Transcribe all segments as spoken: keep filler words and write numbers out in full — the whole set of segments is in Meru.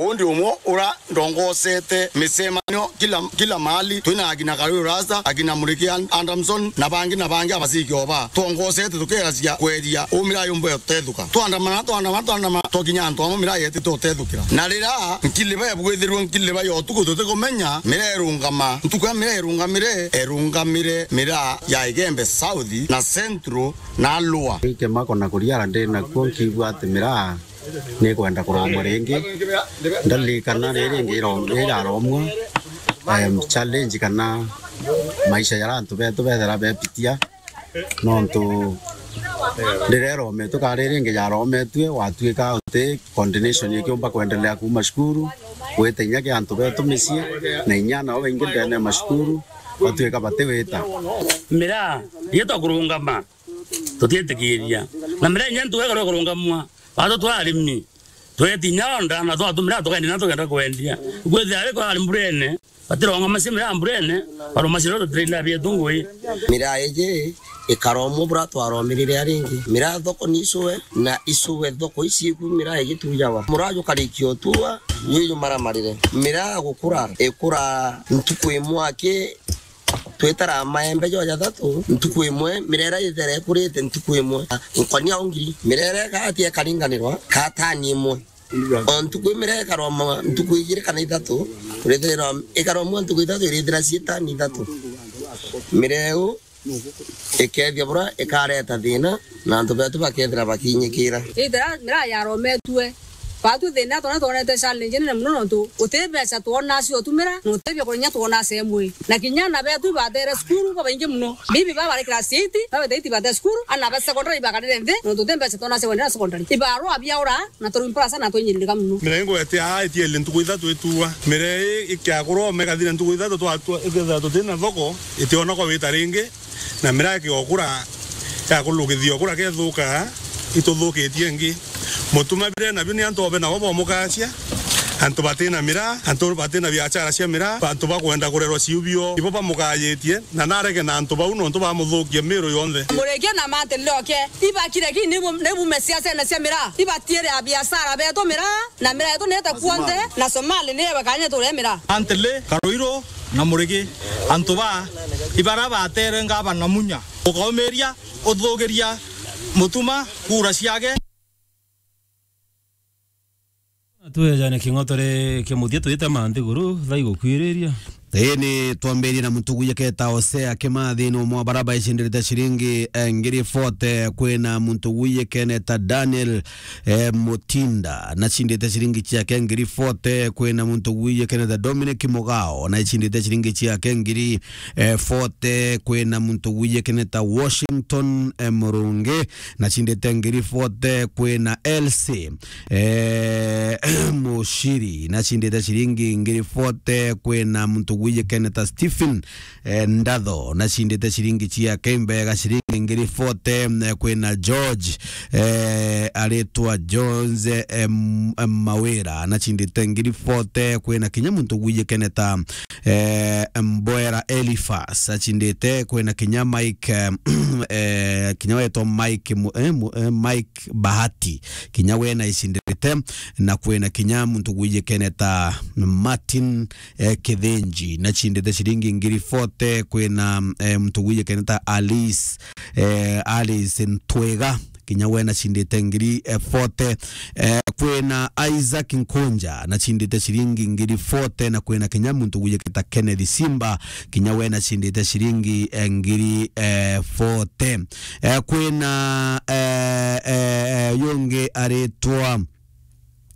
Undi umwe ura ndongosete micemanio kila, kila mahali, twina akina Karuri Rasta, akina Muriki An-, Adamson, na bangi na bangi abaciki oba. Twongosete tukeracia kweria uu miraa yumba utethuka. Twandamana, twandamana, twandamana, twakinya antu amwe miraa yetite utethukira. Na riria nkiliba yabwithirwe nkiliba ya utuku tutikumenya, miraa irungama. Ntuku ya miraa irungamire, erungamire miraa ya Igembe South na Central na Lower. Ikemako na kuriara ndi nakuo, nkigua ati miraa nikwenda kuromwa ringi. Ndaririkana riri ringi iro-, riraromwa, em, challenge kana maisha jaria antu betu bethira bepitia, nontu riria irometwe kana riri ringi jarometue, gwatuika uti continuation ikiumba kwendelea kuuma cukuru, gwita inya kia antu betu micii, na inya nao baingi ndene ya macukuru, gwatuika batiwita. Miraa, rietwa kurungama. Tutiitikiria. Na miraa inya ntuku ikarwa kurungamua. Watu twa arimi. Tweti inya onda, na twatumira tukaenda na tukenda kwendia. Kwithira ariko ari mburene, batirongama cia miraa mburene, baruma cia tutirainda bietu ngui. Miraa iji ikaromwa bura twaromirire aringi. Miraa thoko ni icue, na icue thoko ici iku miraa igitujawa. Muraa jukarikia utua, ni jumaramarire. Miraa gukura, ikura ntuku imwe aki, twitara maembe jo jathatu, ntuku imwe, mirera ithera ikurite ntuku imwe. Nkonia ungiri, mirera ikati ikaringanirwa, ka tani imwe. O ntuku imwe ikaromwa ntuku igiri kana ithatu, kurithirwa ikaromwa ntuku ithatu, irithira ci tani ithatu. Mireu ikethia bura ikareta thina, na antu betu bakethira bakinyikira. Ithira miraa yarometue, batwi thina twona twonete challenge nene muno, nontu uti mbeca twona cio tumira, na uti bia kurinya twona cemwe. Na kinya ana betu ibatere cukuru babaingi muno. Bibi baba bari class eight, babete eight bate cukuru, ana ba secondary ibakarire nthi, nontu uti mbeca twona cia kwendera secondary. Ibarwa biaura, na turi mparasa na twinyirika muno. Miraa ingwete aa itiele ntuku ithatu ituwa. Miraa ii ikiakurwa ome ikathira ntuku ithatu twa, twa, ikethira tutina thoko, itiona kwa wita ringi. Na miraa ikigokura, yakurukithia ukura kethuka, ituthukitie ingi. Mutuma biria nabio ni antu obe nabo bomukacia, antu batina miraa, antu batina biachara cia miraa, antu bakwenda kurerwa ciubio, ibo bamukayitie, na narege na antu bau nontu bamuthukia miru yonthe. Murikia na mantili oke, ibakire ki nibu-, nibume ciacene cia miraa, ibatiire a biashara betu miraa, na miraa yetu niite kuonthe, na Somali niye bakanye turie miraa. Mantili, Karuiru, na Murigi, antu ba ibara batere ngavana Munya, ukaumiria, uthugiria Mutuma kura ciake. Twejane king'otore kia muthia twite ma nthiguru thaa igukwiriria. Ii ni twambirie na muntu gwiyeketa Hosea Kimathi, ni umwe wa bara baicindite ciringi, eh, ngiri forty. Kwina muntu gwiyekene ta Daniel eh, Mutinda, nacindite ciringi ciake ngiri forty. Kwina muntu gwiyekene ta Dominic Mugao, naicindite ciringi ciake ngiri, eh, forty. Kwina muntu gwiyekene ta Washington, eh, Murungi, nacindite ngiri forty. Kwina Elsie, eh, Mushiri, nacindite ciringi ngiri forty. Kwina muntu gwiyekene ta Stephen eh, Ndatho, nacindite ciringi ciake imbega ciringi ngiri forty. Eh, kwina George, eh, aritwa Jones, eh, M-, eh, Mawira, nacindite ngiri forty. Kwina kinya muntu gwiyekene ta, eh, Mbwera Elifas, acindite. Kwina kinya Mike, eh, eh, kinya wetwa Mike Mu-, eh, Mu-, eh, Mike Bahati, kinya we naicindite. Na kwina kinya muntu gwiyekene ta Martin eh, Kithinji, nacindite ciringi ngiri forty. Kwina, eh, muntu gwiyekene ta Alice, eh, Alice Ntwega, kinya we nacindite ngiri, eh, forty. Eh, kwina Isaac Nkunja, nacindite ciringi ngiri forty, na kwina kinya muntu gwiyekene ta Kenneth Simba, kinya we nacindite ciringi, eh, ngiri, eh, forty. Eh, kwina, eh, eh, eh, yungi aritwa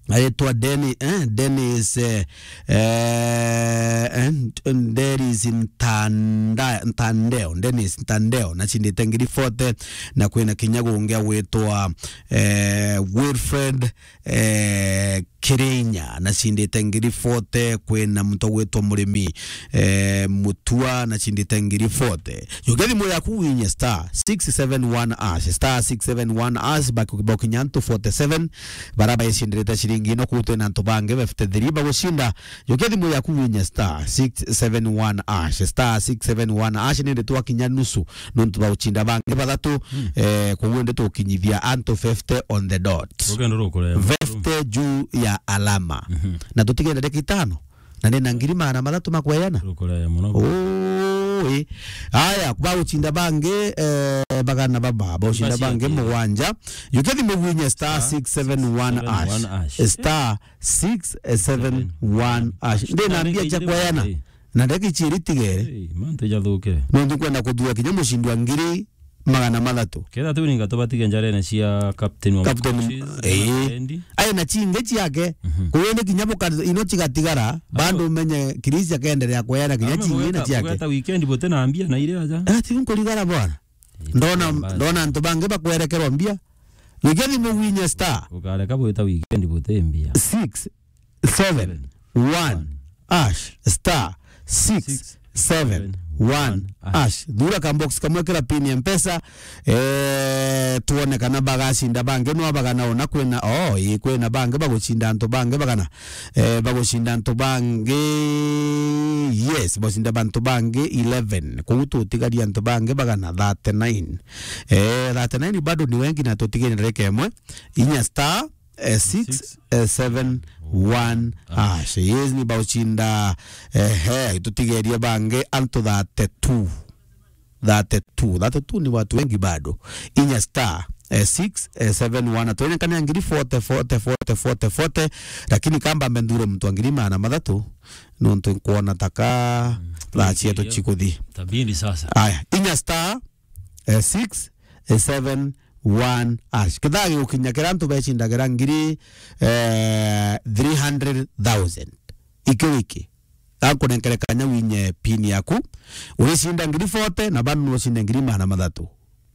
aritwa Deni-, eh, Dennis, eh, eh, eh, Nt-, Dennis Ntanda-, Ntandeo, Dennis Ntandeo, nacindite ngiri forty, na kwina kinya gungi agwitwa, eh, Wilfred, eh, Kirinya, nacindite ngiri forty. Kwina muntu agwitwa Murimi, eh, Mutua, nacindite ngiri forty. Jukia thimu yaku winye star six seven one hash, star six seven one hash, baki-, bakinya antu forty-seven, bara baicindite ciringi ino, kuu twina antu bangi fifty-three bagucinda. Jukia thimu yaku winye star six seven one hash, star six seven one hash, nindi twakinya nusu, nontu bagucinda bangi bathatu, eh, koguo ndi tukinyithia antu fifty on the dot. Rugendo rukurema. Fifty juu ya alama. Mhm. Na tutigenda ndagika itano. Na nina ngiri magana mathatu ma kweana. Tukuraya muno. Oi. Aya, bagucinda bangi, eh, bagana baba, bagucinda bangi mugwanja. Yukethi mugwinye star six seven one hash. Star six seven one hash. Ndinambia cha kweana. Na ndagika ichiri tigere. Hey, mantu jathukire. Nontu kwenda kuthura kinya mucindi wa ngiri magana mathatu. Ketha tu ninga tubatige njarene cia captain wa Captain, Mbuchi, eh. Atendi. Aye na chinge ciake. Mhm. Kuyo ni kinya buka ino cigatigara, bado umenye Chris akaendelea kweana kinya chinge na ciake. Kugeta weekend bote na mbia na ile aja. Ati nkurigara bwana. Eh, ndona, ndona antu bangi bakwerekerwa mbia. Wikendi mugwinye star. Ukareka bwita weekend bote mbia. Six seven one hash, star six seven one hash. Thura ka box kamwe kira pin ya Mpesa. Eh, tuone kana bagacinda bangi no abagana ona kwina, oh, ii kwina bangi bagucinda antu bangi bagana. Eh, bagucinda antu bangi, yes, bagucinda bantu bangi eleven. Kuu tutigaria antu bangi bagana thirty-nine. Eh, thirty-nine bado ni wengi na tutigaire ndarika imwe. Inya star eh, six seven one hash. Yes, ni bauchinda, eh, eh, tutigerie bangi antu thirty-two. Thirty-two. Thirty-two ni watu wengi bado. Inya star, eh, six seven one. Tuonekane ngiri forty, forty, forty, forty, forty. Lakini kamba mbendure mtu wa ngiri magana mathatu. Nontu nkuona taka, mm, thaa cietu cikuthi. Tabindi sasa. Aya, inya star, eh, six seven one hash. Kithaa gigukinya kira antu becindagira ngiri, eh, three hundred thousand. Iki wiki. Akunenkere kanya winye pin yaku. Uricinda ngiri forty na bado nucinda ngiri magana mathatu.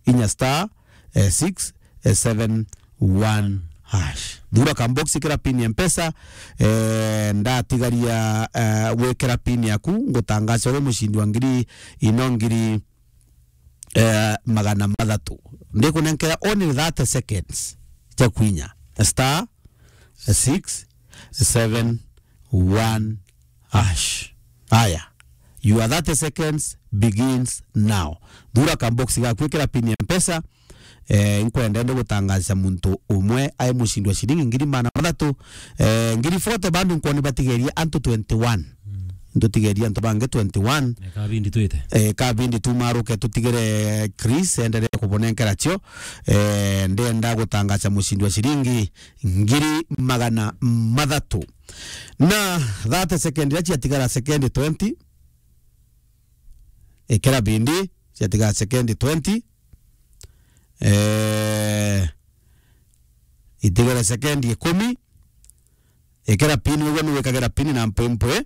Inya star, eh, six seven one hash. Thura ka box kira pin ya Mpesa, eh, ndatigaria, eh, gwikira pin yaku, ngutangaca uri mucindi wa ngiri ino ngiri eh, magana mathatu. Ndikunenkera only thirty seconds cia kwinya. Star six seven one hash. Aya. Your thirty seconds begins now. Thura ka box gaku, ikira pin ya Mpesa. Eh, nkwenda ndi gutangaza muntu umwe ai mucindi wa ciringi ngiri magana mathatu. Eh, ngiri forty bado nkwona batigeria antu twenty-one. Mm. Ntutigeria antu bangi twenty-one. Eh, kabindi twite. Eh, kabindi tumaruke tutigire Chris endelee kubunenkera cio. Eh, ndenda gutangaza mucindi wa ciringi ngiri magana mathatu. Na thirty second iria ciatigara, second twenty. Ikira bindi, ciatigara second twenty. Eh, itigara second ikumi. Ikira pin, ugwe niwikagira pin na mpwimpwi.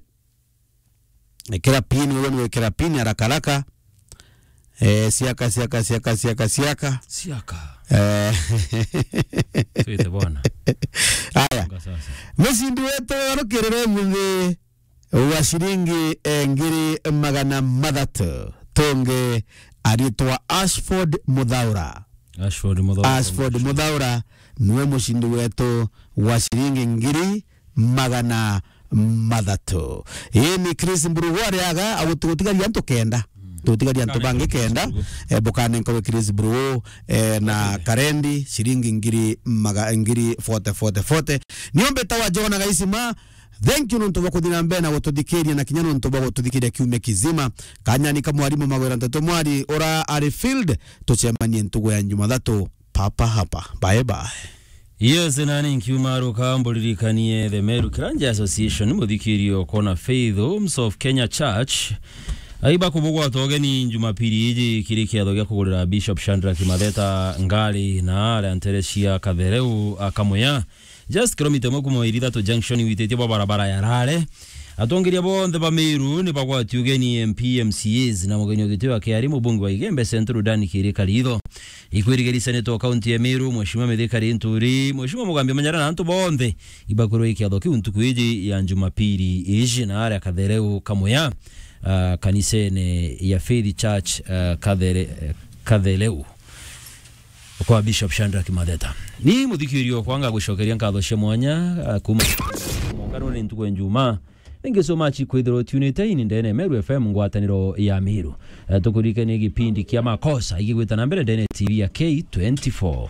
Ikira pin, ugwe niwikira pin haraka haraka. Eh, siaka, siaka, siaka, siaka, siaka. Siaka. Eh. Twite bwana. Aya. Songa sasa. Mucindi wetu arukirire muthi wa ciringi, eh, ngiri magana mathatu. Tungi aritwa Ashford Muthaura. Ashford Muthaura. Ashford Muthaura niwe mucindi wetu wa ciringi ngiri magana mathatu. Ii ni Chris Mburugu ariaga, agutigaria antu kenda. Mm. Tutigaria antu bangi kenda. Eh, bukanenka we Chris Mburugu, eh, na Karendi, ciringi ngiri maga-, ngiri forty, forty, forty. Niombe tawa Jona Gaisima, thank you nontu bwa kuthi na mbere na gututhikiria na kinya nontu bwa gututhikiria kiumia kizima. Kanyani ka mwarimu Magwira Nteto Mwari, ura ari field, tucemanie ntugu ya Jumathatu, papa hapa. Bye bye. Yes, nani nkiuma ruka mburirikanie the Meru Kiranja Association, muthikirio kona Faith Homes of Kenya Church. Aiba kubugwata ugeni Jumapili iji kiri kiatho gia kugurira Bishop Shadrack Matheta ngari na aria ntere cia Kathereu akamuya. Just kilomita imwe kuma Irithatu Junction wititie bwa barabara ya Rare. Atongeria bonthe ba Meru ni bagwati ugeni, M P, M C As na mugeni wa giti wa kiari mubunge wa Igembe Central Dan Kirika Ritho. Ikwirigiria Senator wa kaunti ya Meru, Mheshimiwa Mithika Linturi, Mheshimiwa Mugambi Manyara na antu bonthe ibakwirwa ikiatho kiu ntuku iji ya Jumapili iji na aria Kathereu kamuya, ah, kanisene ya Faith Church, ah, Kathere-, Kathereu. Kwa Bishop Shadrack Matheta. Ni muthikirio kwanga gucokeria nkatho cia mwanya, ah, kuma mungano ni ntuku ya Njuma. Thank you so much kwithirwa tunite ini ndene Meru F M ngwataniro ya Meru. Eh, tukuririkanie gipindi kia Makosa igigwita na mbere ndene T V ya K twenty-four.